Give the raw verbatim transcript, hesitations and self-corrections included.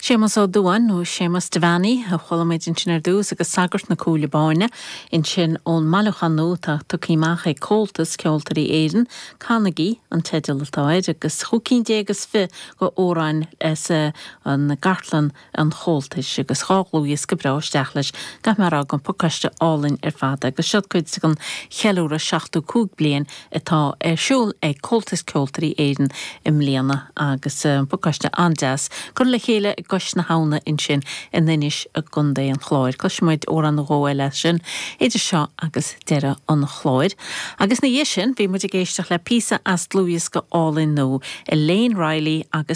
Séamus Ó Dubháin nó Séamus Devaney a chuala muid ansin ar dtús agus Sagart na Cúile Báine ansin ón mbailiúchán nua atá tugtha amach ag Comhaltas Ceoltóirí Éireann Canaigí an teideal atá air agus chúig cinn déag is fiche d'amhráin as an gcartlann an Chomhaltais agus dhá dhlúthdhiosca breá isteach leis gach mar an pacáiste álainn ar fad agus seo cuid den cheiliúradh seachtó cúig bliain atá ar siúl ag Comhaltas Ceoltóirí Éireann i mbliana agus pacáiste an-deas curtha le chéile i gCois na hAbhna ansin in Inis i gContae an Chláir. Cloisfimid amhrán nó dhó eile sin idir seo agus deireadh an chláir. Agus ina dhiaidh sin bhí muid ag éisteacht le píosa as dlúthdhiosca álainn nua Elaine Riley agus